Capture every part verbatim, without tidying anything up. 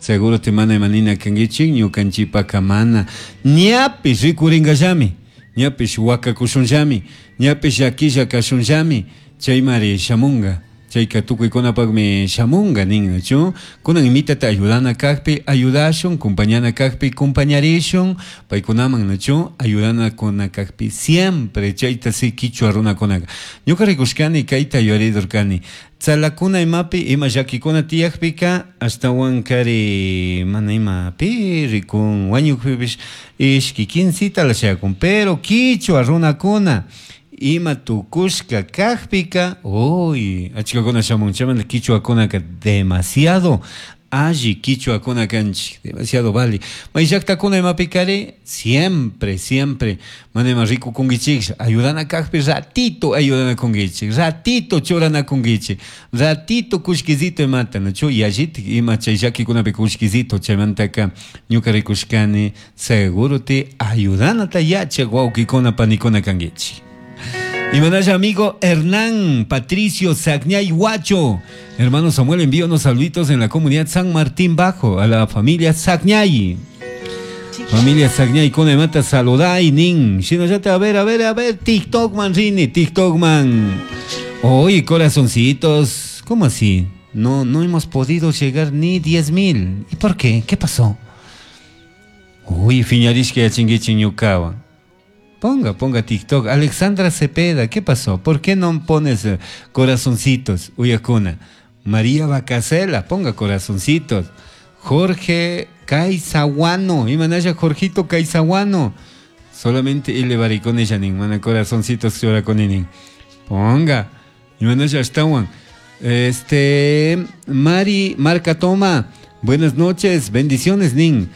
Seguro te mana imanina kankichik ñukanchipaka mana ñapish rikuringallami, ñapish wakakushunllami, ñapish llakilla kashunllami, chaymari shamunga. Chayka tukuykunapakmi shamunga nin, nachu? Kunan imitata ayudana kakpi ayudashun, compañana kakpi compañarishun, paykunaman, nachu? Ayudana kuna kakpi siempre chayta si kichwa runakunaka. Ñuka rikushkani kayta yuyaridurkani. Tzalakuna imapi ima llakikuna tiyakpika ashtawan kari mana ima pi rikun wañukpipish ishki quincita la shayakun, pero kichwa runakuna ima tukushka kakpika, uy, achkakuna shamun, chaymanta kichwakunaka demasiado alli kichwakuna kanchik, demasiado vale. May llaktakuna imapikari siempre, siempre mana ima rikukunkichik, ayudana kakpi ratito ayudana kunkichik, ratito churana kunkichik, ratito kullkisito imata, nachu yallitik ima chay llakikunapi kullkisito, chaymantaka ñuka rikushkani seguro te ayudanata yachak wawkikuna panikuna kankichik. Y amigo Hernán Patricio Sagñay Huacho. Hermano Samuel, envío unos saluditos en la comunidad San Martín Bajo a la familia Sagñay. Familia Sagñay, con mata saludai nin. Sino ya te a ver, a ver, a ver, TikTok man, Rini, TikTok man. Oye, corazoncitos, ¿cómo así? No, no hemos podido llegar ni diez mil. ¿Y por qué? ¿Qué pasó? Uy, fiñarishka yachinguichi ñukawan. Ponga, ponga TikTok. Alexandra Cepeda, ¿qué pasó? ¿Por qué no pones eh, corazoncitos? Uyakuna. María Bacasela, ponga corazoncitos. Jorge Caizaguano, imanaya Jorgito Caizaguano. Solamente ile baricone yanin, mana corazoncitos llora con inin. Ponga. Imanaya ashtawan. Este, Mari Marca Toma. Buenas noches, bendiciones, Nin.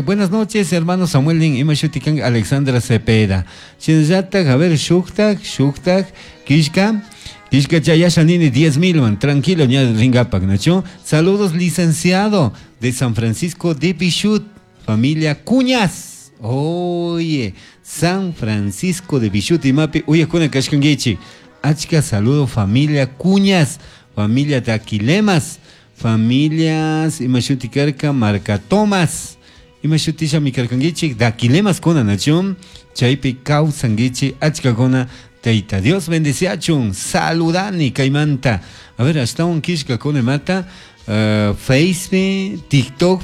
Buenas noches, hermano Samuel Nin. Ima shutikan Alexandra Cepeda. Shinllatak, a ver, shuktak, shuktak, kishka. Kishka chayasha nini, diez mil, man. Tranquilo, ña ringapak, nacho. Saludos, licenciado de San Francisco de Bichut, familia Cuñas. Oye, San Francisco de Bichut y mapi. Oye, kuna kashkangichi. Achka, saludo, familia Cuñas, familia de Aquilemas. Familias, imashuti karka, Marca Tomás, imashutisha mikarkangichik, dakilemas kuna nachun, chaypi kawsangichi, achkakuna, Teita Dios bendeciachun, saludani kaymanta. A ver, hasta un kishka kuna mata, uh, Face, TikTok,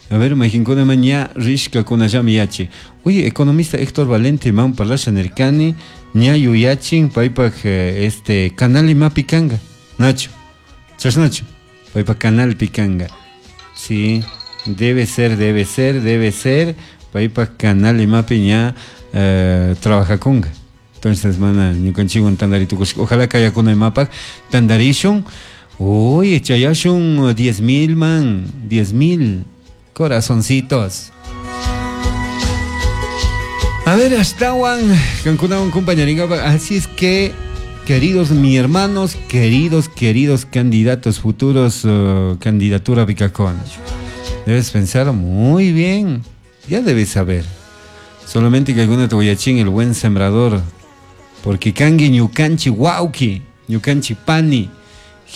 a ver, imaginkuna maña rishka kuna llami yachi. Oye, economista Héctor Valente, man parlasha nerkani, ña yuyachin, paypak este canal imapi kanga, Nacho, chasnacho. Paypa canal picanga. Sí, debe ser, debe ser, debe ser. Paypa canal imapi ña eh, trabaja conga. Entonces, mana, ñukanchikwan tandaritukushka. Ojalá kayakuna imapak tandarishun. Uy, chayashun diez mil, man. diez mil corazoncitos. A ver, ashtawan, kankunawan compañeringapa. Así es que, queridos mis hermanos, queridos, queridos candidatos futuros, uh, candidatura Vicacón, debes pensar muy bien, ya debes saber. Solamente que alguna te voy a chin el buen sembrador, porque kangi ñukanchi wauki, ñukanchi pani,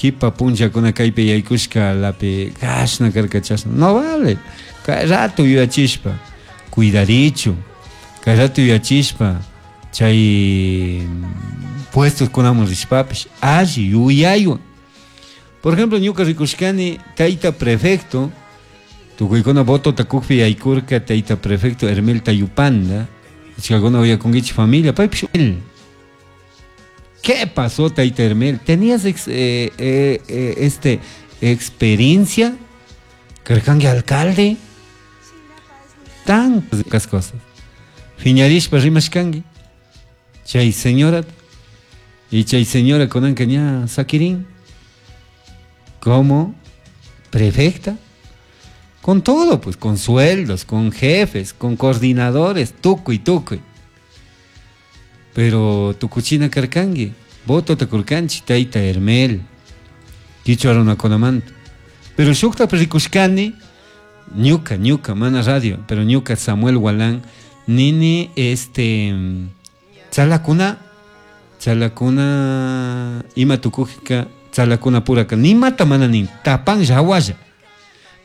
hipa puncha kuna kaypi yaykushka lapi kashna karka chashna, no vale, kay rato yuyachishpa, cuidarichu, kay rato yuyachishpa, chay puestos kunamun rishpapish, alli yuyaywan. Por ejemplo, ñuka rikushkani tayta prefecto, tukuykuna voto takukpi yaykurka tayta prefecto Hermel Tayupanda, achkakuna uyakunkichik familia, paypish él. ¿Qué pasó, tayta Hermel? ¿Tenías ex, eh, eh, eh, este, experiencia? ¿Karkanki alcalde? Tantas cosas. Fiñarishpa rimashkanki. Chay señora, y chay señora kunanka ña sakirin como prefecta, con todo, pues, con sueldos, con jefes, con coordinadores, tukuy, tukuy. Pero tukuchina karkanki, voto takurkanchi, tayta Hermel, kichwa runakunamanta. Pero shukta rikushkani, ñuka, ñuka, mana radio, pero ñuka Samuel Gualán, nini, este, tzalakuna, tzalakuna, ima tukujika, tzalakuna puraka, ni mata mana nin, tapan yawalla.